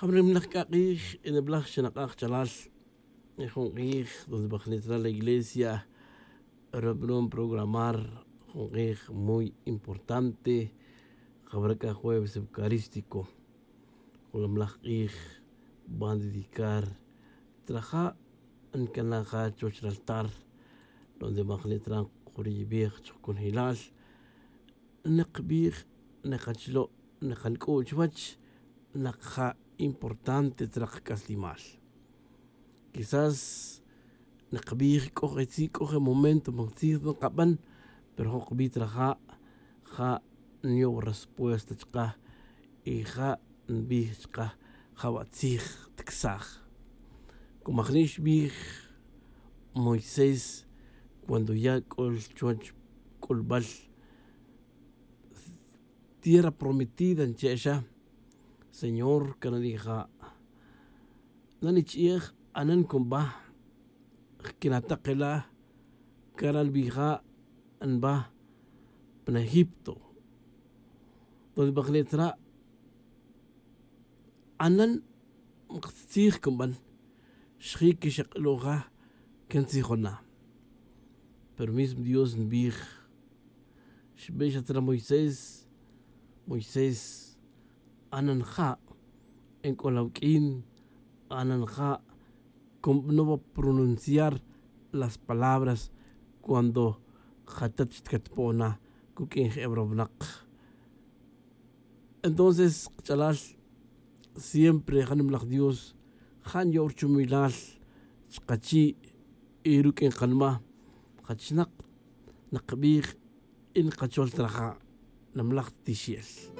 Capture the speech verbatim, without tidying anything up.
Jab'animlaj k'a q'ij, eneb'laj xenaq'aj chalal. Jun q'ij donde b'ajnit ra la iglesia reb'anon programar jun q'ij muy importante. Jab'ra k'a jueves eucarístico, jun lamlaj q'ij b'an dedicar traja' nkanaj ja chuwach raltar donde b'ajnit ra nquriyib'ej chuj kunjilal. Naqb'ij, naqachlo', naqank'u' chuwach naq ja importante traq k'aslimal. Quizás naqb'ij k'o je tzij k'o je momento man tzij ta nqab'an, pero jun qb'ij traja' ja nyow respuesta chqaj y ja nb'ij chqaj jab'a tzij tksaj. Como ajni' xb'ij moisés cuando ya' k'ol chuwach k'ulb'al tierra prometida nche'xa, señor kananija' nanich'ij anan kunb'a jkinataqila' karal b'ija' nb'a pan egipto. Donde b'ajnit ra' anan maqtzij kunb'an xji' kixaq'lu'ja kan tzijona. Pero mismo dios nb'ij xb'ixat ra moisés, moisés anan ja' enk'ol awk'in anan ja' kunb'anowa pronunciar las palabras cuando jatat xtkatpo'ona kuk'in je' eb'rowinaq. Entonces kach'alal siempre ja nimlaj dios ja nyo'w rchumilal chqachi' y ruk'in qanma jachnaq naqb'ij y nqachol traja' nimlaj tixel.